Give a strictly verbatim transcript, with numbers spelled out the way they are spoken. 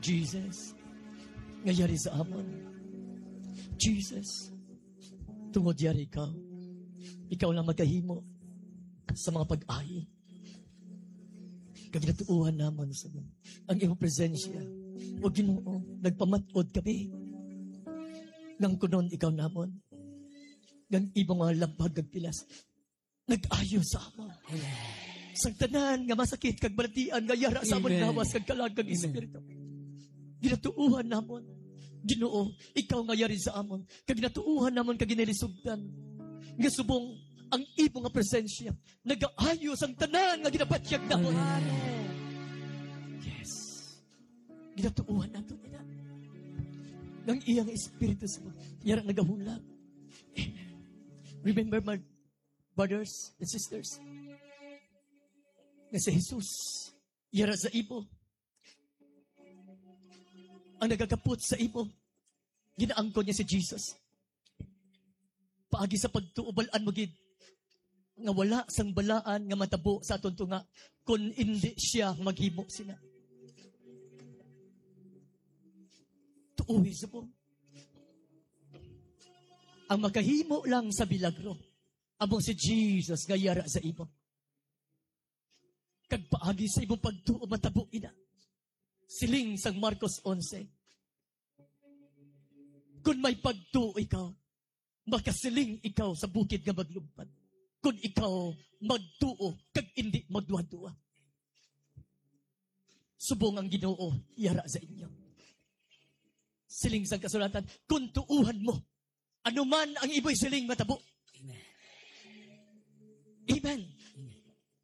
Jesus, nga yari sa amon. Jesus, tungod yari ka, ikaw lang magahimo sa mga pag-ahi. Kag natuuhan namon sa ang imong presensya. O Ginoo, nagpamat-od kami nang kunon ikaw namon, nang imong mga labag kag pilas nag-ayo sa amon. Sang tanan nga masakit kag balatian nga yara sa amon Amen. Lawas kag kalag kag Amen. Espiritu. Ginatuuhan namon, Ginoo, ikaw nga yari sa amon, kag ginatuuhan namon kag ginilisugdan nga subong ang imo nga presensya nagaayo sang tanan nga ginabatyag namon. Amen. Yes. Ginatuuhan nato nila. Nang iyang espiritu sa yara nagahulat. Amen. Remember, my brothers and sisters, nga si Jesus, yara sa imo. Ang nagakapot sa imo, ginaangkon niya si Jesus. Paagi sa pagtuo, balaan mo gid nga wala sang balaan nga matabo sa aton tunga kun indi siya maghimo sina. Tuohi subong. Ang makahimo lang sa milagro amo si Jesus nga yara sa imo. Kag paagi sa imong pagtuo matabo ina. Siling sang Marcos onse, "Kun may pagtuo ikaw, makasiling ikaw sa bukid nga maglumpat, kun ikaw magtuo kag indi magduha-duha." Subong ang Ginoo yara sa inyo. Siling sang kasulatan, "Kun tuohan mo, ano man ang imo siling matabo." Amen. Amen.